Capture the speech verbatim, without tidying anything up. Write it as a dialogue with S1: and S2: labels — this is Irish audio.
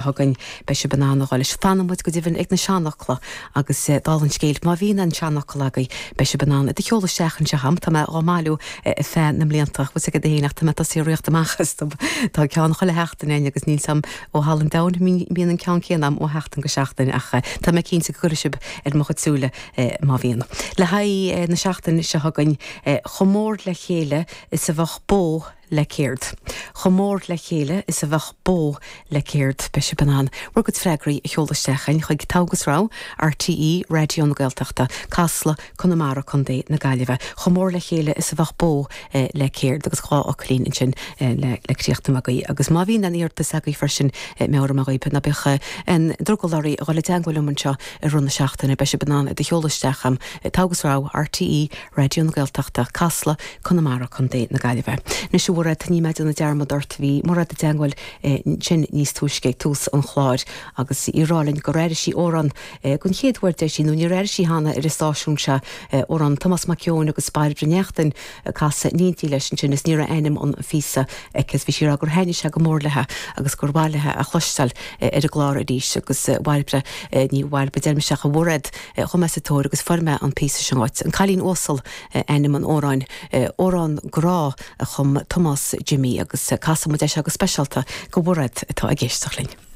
S1: chugainn beidh sibh in ann a dhul leis. Fanfaidh muid go deimhin ag na seanfhocla agus dála an scéil, má bhíonn aon seanfhocal agaibh beidh sibh in ann iad a sheoladh isteach anseo agam. Tá mé dhá mbailiú ar feadh na mblianta, bhfuil 's agat féin ach tá mé tosaithe ag ritheacht amach astu. Tá ceann chuile sheachtain againn agus níl 's agam ó thalamh an domhain mbíonn an ceann céanna agam ó sheachtain go seachtain ach tá mé cinnte go gcuirfidh sibh ar mo chuid súile má bhíonn. Le haghaidh na seachtaine seo chugainn, chomh mór le chéile is a bheadh bó le céard. Chomh mór le chéile is a bheadh bó le céard. Beidh sibh in ann bhur gcuid freagraí a sheoladh isteach chugainn chuig Togha agus Rogha, RTÉ Raidió na Gaeltachta, Casla, Conamara, Contae na Gaillimhe. Chomh mór le chéile is a bheadh bó le céard agus dhá fhocailín ansin le le críochnú agaibh. Agus má bhíonn aon iarratas agaibh freisin meabhraím dhaoibh ná bíodh aon drogall oraibh a dhul i dteagmháil liom anseo i rith na seachtaine. Beidh sibh in ann iad a sheoladh isteach agam. Togha agus Rogha, RTÉ Raidió na Gaeltachta, Casla, Conamara, Contae na Gaillimhe. Anois a Mhairéad, ní mé ag déanamh dearmad ort, bhí Mairéad i dteagmháil ansin níos túisce ag tús an chláir agus í ag rá linn gur airigh sí amhrán den chéad uair deir sí, nó níor airigh sí cheana ar an stáisiún seo, amhrán Tomás Mac Eoin agus Bairbre Neachtain ag casadh in éindí leis ansin is ní raibh ainm an phíosa aici is bhí sí ag rá gur thaitnigh sé go mór léi agus gur mhaith léi a chloisteáil ar an gclár arís agus a Bhairbre, ní a Bhairbre, deirim isteach a Mhairéad, chuaigh mé sa tóir agus fuair mé an píosa sin dhuit. An Cailín Uasal ainm an amhráin, amhrán grá a chum Tomás Jimmy agus casfaidh muid é seo go speisialta do Mhairéad atá ag éisteacht linn.